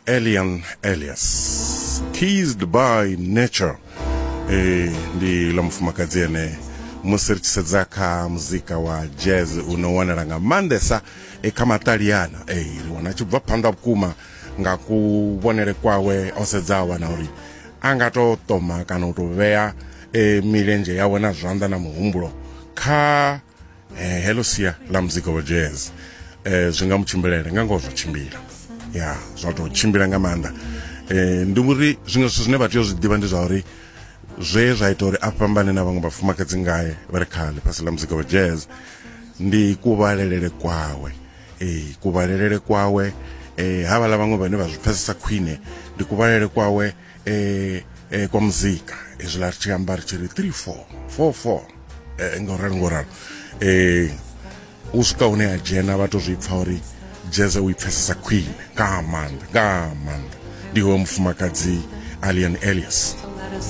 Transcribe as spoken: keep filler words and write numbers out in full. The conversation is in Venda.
Elian Elias, Kissed by Nature. E, ndi ḽa mufumakadzi ene musi ri tshi sedza kha muzika wa jazz u no wanala nga maanḓesa e kha maṱaliana. E, ri wana a tshi bva phanḓa vhukuma nga kuvhonele kwawe, o sedza a wana uri a nga to ṱoma kana u to vhea e, milenzhe yawe na zwanḓa na muhumbulo kha eh, heḽo sia ḽa muzika wa jazz, eh, zwi nga mu tshimbilele nga ngoho, zwa tshimbila ya zwa to tshimbila nga maanḓa. eh, ndi uri zwiṅwe zwithu zwine vha tea u zwi ḓivha ndi zwa uri zwe zwa ita uri a fhambane na vhaṅwe vhafumakadzi ngae vha re kha ḽifhasi ḽa muzika wa jazz ndi kuvhalelele kwawe. Ee, kuvhalelele kwawe, eh havhaḽa vhaṅwe vhane vha zwi pfesesa khwine ndi kuvhalele kwawe eh, eh, kwa muzika hezwiḽa ri tshi amba ri tshi ri three four four four, eh, ngo ralo ngo ralo. eh u swika hune a dzhena vha to zwi pfa uri jazz u i pfesesa khwine nga maanḓa, nga maanḓa. Ndi hoyo mufumakadzi Alian Elias.